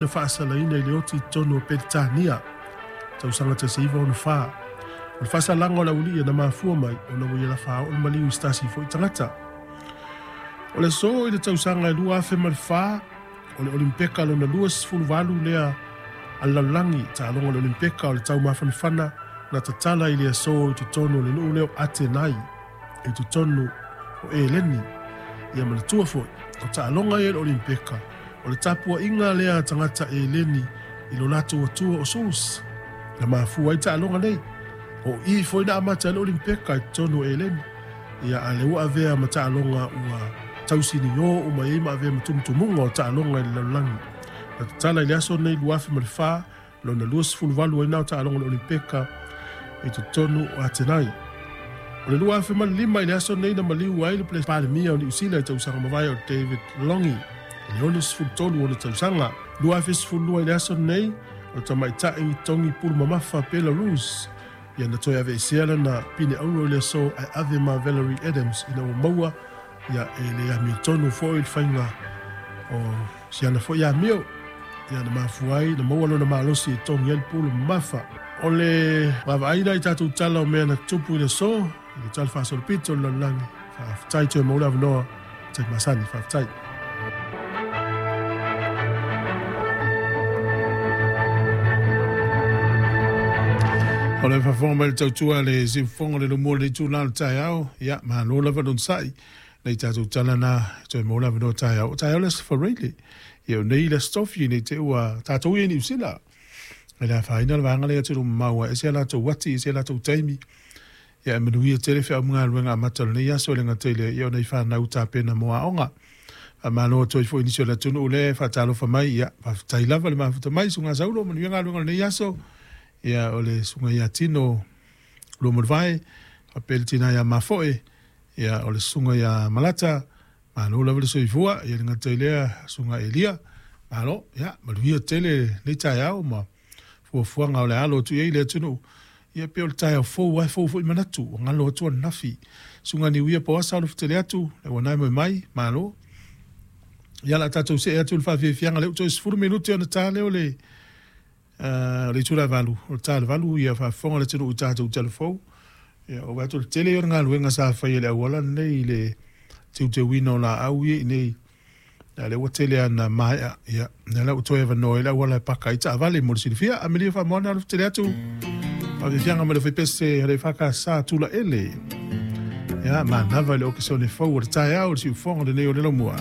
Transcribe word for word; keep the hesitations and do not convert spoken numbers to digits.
Na faasalaina i le oti i totonu o Peretania tausaga tasi iva ono fa. O le faasalaga o le aualii na mafua mai ona ua ia lafaao le maliu i se tasi foi tagata. O le aso i le tausaga e lua afe ma le fa, o le Olimpeka lona lua sefulu valu lea a le lalolagi, taaloga o le Olimpeka o le taumafanafana na tatala i le aso i totonu o le nuu lea o Atenai i totonu o Eleni. Ia manatua foi, o taaloga ia i le Olimpeka, o le tapuaiga lea a tagata Eleni i lo latou atua o Sus. Na mafua ai taaloga nei. O i foi na amata ai le Olimpeka i totonu o Eleni. Ia a le ua avea ma taaloga ua tausinio uma ai ma avea ma tumutumuga o taaloga i le lalolagi. Na tatala i le aso nei lua afe ma le fa, lona lua sefulu valu ai na o taaloga o le Olimpeka i totonu o Atenai. O le lua afe ma le lima i le aso nei na maliu ai le Palemia o Niu Sila i tausaga mavae o David Longi i le ono sefulu tolu ona tausaga. Lua afe sefulu lua i le aso nei o tamaitai togi pulu mamafa Belarus ia na toe aveesea lana pine auro i le aso ae ave ma Valerie Adams ina ua maua ia e le amiotonu foi le faiga o siana foi amio ia na mafua ai na maua lona malosi e togi ai le pulu mamafa. O le vaavaaina i tatou tala o mea na tupu i le aso i le tala faasolopito o le lalolagi. Faafetai toe maua le avanoa tai masani. Faafetai. O le faafofoga mai le tautua le siufofoga o le lumua o le itula o le taeao, ia malo lava lona sa'i nei tatou tala na toe maua le avanoa taeao. O taeao le Aso Faraile, ia o nei le Aso Tofi nei te ua tatou ia i Niu Sila. E le afaina le vaega lea atunuu mamao ai, e ese a latou ati, e ese a latou taimi. Ia e manuia tele feau ma galuega amata o lenei aso e le gata i lea, ia ona i fanau tapena mo aoga. Faamalo atu ai foi i nisi o le atunuu lea e faatalofa mai, ia faafetai lava le mafuta mai, susuga Saulo, manuia galuega o lenei aso. Ia o le susuga ia Tino Luamalevae, faapea le tina ia Mafoe, ia o le susuga ia Malata, malo lava le soifua, ia le gata i lea susuga Elia, malo, ia manuia tele lenei taeao ma fuafuaga o le alo atu i ai le atunuu. Ia pe o le taeao fou ai fou foi manatu, o galo atu ananafi. Susuga Niuia Poasa o le fetele atu, le ua nai moe mai, malo. Ia la tatou see atu le faafiafiaga le u toe sefulu minute ona ta lea o le uh, le itula e valu, o le ta le valu ia faafofoga le atunuu i tatou talafou. Ia o atu le tele o le galuega sa fai e le auala lenei i le teuteuina o laau ia i nei. Ia le ua tele ana maea, ia na ua toe avanoa ai le auala e paka ai taavale mo le silafia. Amelia Faamoana o le fetele atu. Faafiafiaga ma le faipese le whakasa tula ele. Ia manava i le okesone fou o le taeao o le siufofoga lenei o le laumua.